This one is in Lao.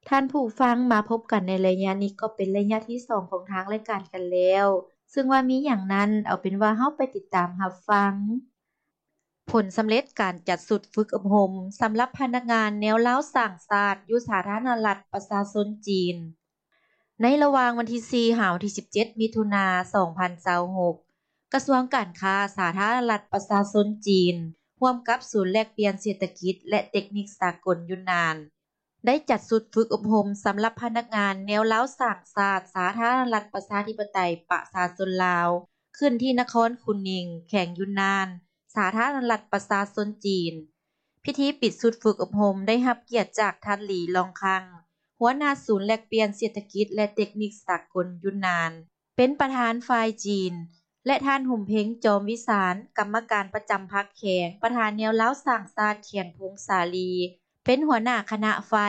ທ່ານຜູ້ຟັງ, ມາພົບກັນໃນໄລຍະນີ້ກໍເປັນໄລຍະທີສອງຂອງທາງລາຍການກັນແລ້ວ, ເຊິ່ງວ່າມີຫຍັງນັ້ນ, ເອົາເປັນວ່າເຮົາໄປຕິດຕາມຮັບຟັງ. ຜົນສຳເລັດການຈັດຊຸດຝຶກອົບຮົມສຳລັບພະນັກງານແນວລາວສ້າງຊາດຢູ່ສາທາລະນະລັດປະຊາຊົນຈີນ. ໃນລະຫວ່າງວັນທີສີ່ຫາວັນທີສິບເຈັດ ມິຖຸນາ ສອງພັນຊາວຫົກ, ກະຊວງການຄ້າສາທາລະນະລັດປະຊາຊົນຈີນ ຮ່ວມກັບສູນແລກປ່ຽນເສດຖະກິດ ແລະ ເຕັກນິກສາກົນຢູນນານ ໄດ້ຈັດຊຸດຝຶກອົບຮົມສຳລັບພະນັກງານແນວລາວສ້າງຊາດ ສາທາລະນະລັດປະຊາທິປະໄຕປະຊາຊົນລາວ ຂຶ້ນທີ່ນະຄອນຄຸນນິງ ແຂວງຢູນນານ ສາທາລະນະລັດປະຊາຊົນຈີນ. ພິທີປິດຊຸດຝຶກອົບຮົມໄດ້ຮັບກຽດຈາກທ່ານ ຫຼີ ລອງຄັງ ຫົວໜ້າສູນແລກປ່ຽນເສດຖະກິດ ແລະ ເຕັກນິກສາກົນຢູນນານ ເປັນປະທານຝ່າຍຈີນ ແລະ ທ່ານ ຫຸມເພັງ ຈອມວິສານ ກຳມະການປະຈຳພັກແຂວງ, ປະທານແນວລາວສ້າງຊາດແຂວງຜົ້ງສາລີ ເປັນຫົວໜ້າຄະນະຝ່າຍ